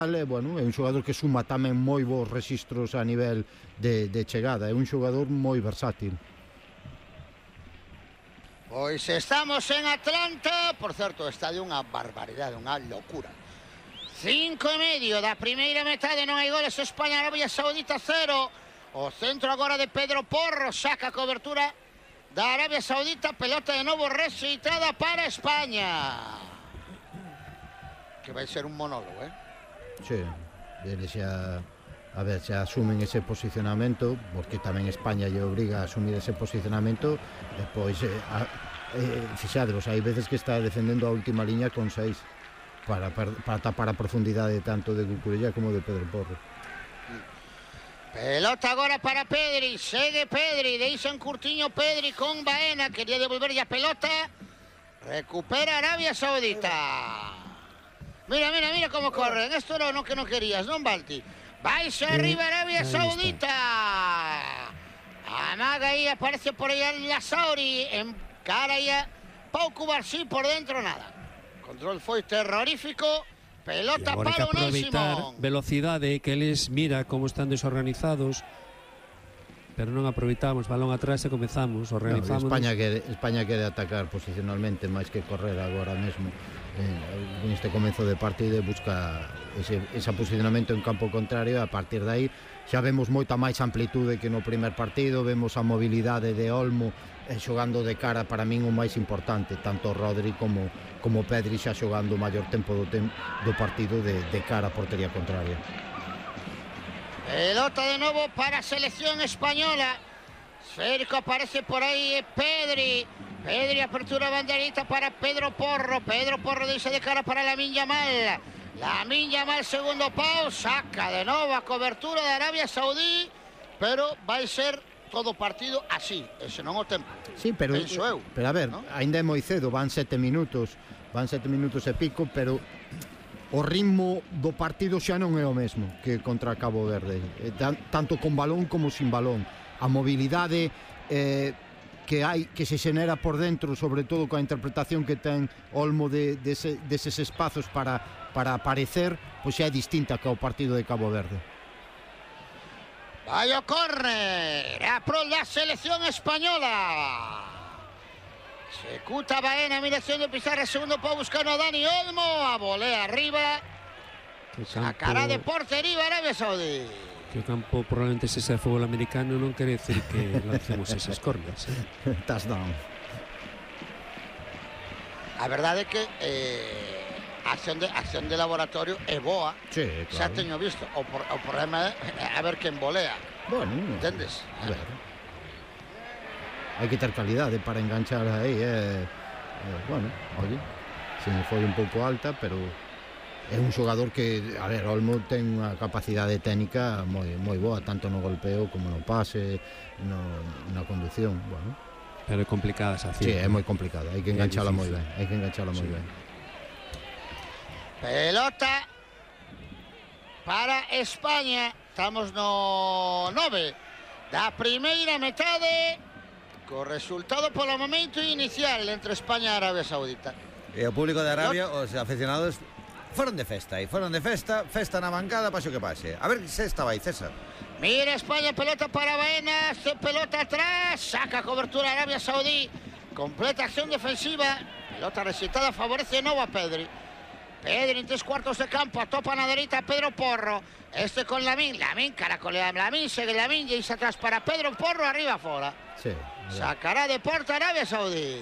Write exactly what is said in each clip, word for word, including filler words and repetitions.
Bueno, é un xogador que suma tamén moi bons rexistros a nivel de, de chegada, é un xogador moi versátil. Pois estamos en Atlanta, por certo, está de unha barbaridade, unha locura. Cinco e medio da primeira metade, non hai goles. España, Arabia Saudita cero. O centro agora de Pedro Porro, saca a cobertura da Arabia Saudita, pelota de novo rexeitada para España. Que vai ser un monólogo, eh? Sí, eles xa, a ver, xa asumen ese posicionamento, porque tamén España lle obriga a asumir ese posicionamento, e pois, eh, a, eh, fixadevos, hai veces que está defendendo a última liña con seis, para, para, para tapar a profundidade tanto de Cucurella como de Pedro Porro. Pelota agora para Pedri, segue Pedri, deixa un curtiño Pedri con Baena, quería devolverlle a pelota, recupera Arabia Saudita. Mira, mira, mira como corren. Esto era lo que no querías, ¿no, Balti? Vais arriba Arabia Saudita. Amaga ahí, aparece por allá la Sauri. En cara ya Pau Cubarsí, por dentro nada. Control foi terrorífico. Pelota para Unai velocidade, que eles mira como están desorganizados, pero non aproveitamos, balón atrás e comezamos, organizamos. No, España quere, España quere atacar posicionalmente máis que correr agora mesmo. Eh, en este comezo de partido busca ese, ese posicionamento en campo contrario, e a partir de aí xa vemos moita máis amplitude que no primer partido, vemos a mobilidade de Olmo eh, xogando de cara, para min o máis importante, tanto Rodri como, como Pedri xa xogando o maior tempo do, tem, do partido de, de cara a portería contraria. Pelota de novo para a selección española. Cerco aparece por aí Pedri. Pedri, apertura banderita para Pedro Porro. Pedro Porro dice de cara para Lamine Yamal. Lamine Yamal, segundo pau. Saca de novo a cobertura de Arabia Saudí. Pero vai ser todo partido así. Ese non o tempo. Sí, pero, penso eu. Pero a ver, ¿no? Ainda é moi cedo. Van sete minutos. Van sete minutos e pico, pero o ritmo do partido xa non é o mesmo que contra Cabo Verde. Tanto con balón como sin balón. A mobilidade eh, que hai, que se xenera por dentro, sobre todo coa interpretación que ten Olmo de, de ese, deses espazos para, para aparecer, pois xa é distinta que o partido de Cabo Verde. Vai o córner a pro da selección española. Executa Baena, miración de Pizarra, segundo pau buscando a Dani Olmo, a volea arriba, sacará de portería Arabia Saudí. Que o campo probablemente se sea fútbol americano non quere decir que lancemos esas cornas, eh? Touchdown. A verdade é que eh, a acción de, acción de laboratorio é boa. Sí, claro. Xa teño visto. O, por, o problema é a ver quen volea. Bueno, entendes? A ver. Hai que ter calidade para enganchar aí, eh, eh, bueno, oye, se me foi un pouco alta, pero é un xogador que, a ver, Olmo ten unha capacidade técnica moi, moi boa, tanto no golpeo como no pase, no, na conducción, bueno. Pero é complicada esa acción. Sí, é moi complicada, hai que enganchala moi ben, hai que enganchala moi sí. ben. Pelota para España, estamos no nove da primeira metade, co resultado polo momento inicial entre España e Arabia Saudita. E o público de Arabia, os aficionados, foron de festa, e foron de festa, festa na bancada, pase o que pase. A ver se estaba aí, César. Mira España, pelota para Baena, se pelota atrás, saca cobertura Arabia Saudí, completa acción defensiva, pelota recitada, favorece de novo a Pedri. Pedri en tres cuartos de campo, atopa na dereita Pedro Porro, este con Lamine, Lamine caracolea, Lamine segue Lamine, e atrás para Pedro Porro, arriba fora. Sí. Sacará de porta Arabia Saudí.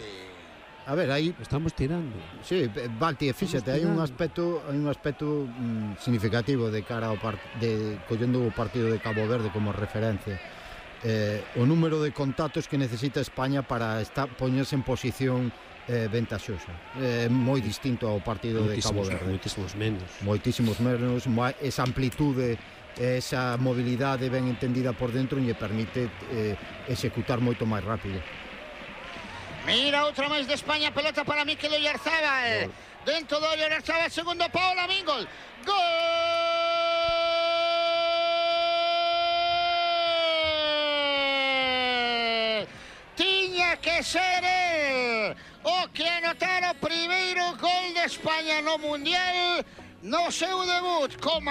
A ver, aí estamos tirando. Sí, Balti, fíxate, hai un aspecto, hai un aspecto mm, significativo de cara ao part de collendo o partido de Cabo Verde como referencia. Eh, o número de contactos que necesita España para estar poñerse en posición eh, ventaxosa. É eh, moi distinto ao partido de Cabo Verde. Moitísimos menos. Moitísimos menos, esa amplitude, esa mobilidade ben entendida por dentro lle permite eh, executar moito máis rápido. Mira, outra máis de España, pelota para Mikel Oyarzábal. Dentro do Oyarzábal, segundo pau, Lamine, gol. Gol! Tiña que ser el o que anotara o primeiro gol de España no Mundial no seu debut como